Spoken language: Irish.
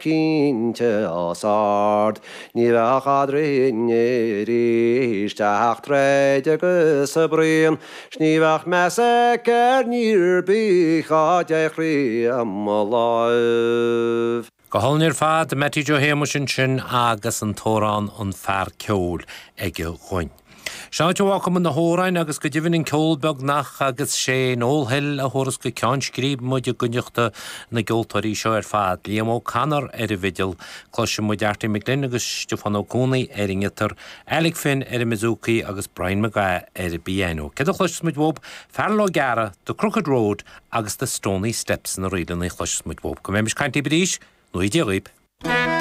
Cinnte os ard, ní bheadh eadrainn arís ach troid agus bruíon, 's ní bheadh meas aici ar ní ar bith dhá dtéadh i mo láimh. Go hálainn ar fad, Mattie Joe Shéamuis ansin agus an t-amhrán An Fear Ceoil aige dhúinn. Seo an áit a bhfágfaidh muid na hamhráin agus go deimhin an ceol beagnach agus sé Noel Hill a thabharfas go ceann scríbe muid i gcuideachta na gceoltóirí seo ar fad, Liam O'Connor ar an bhfidil, cloisfidh muid Arty McGlynn agus Stiofán Ó Cuanaigh ar an ngiotár, Alec Finn ar an mbouzouki agus Brian McGrath ar an bpianó. Céard a chloisfeas muid uathub? Fearghal Ó Gearra, The Crooked Road agus The Stoney Steps na ríleanna a chloisfeas muid uathub. Go mbeimis ag caint libh arís, go ngnóthaí Dia dhaoib.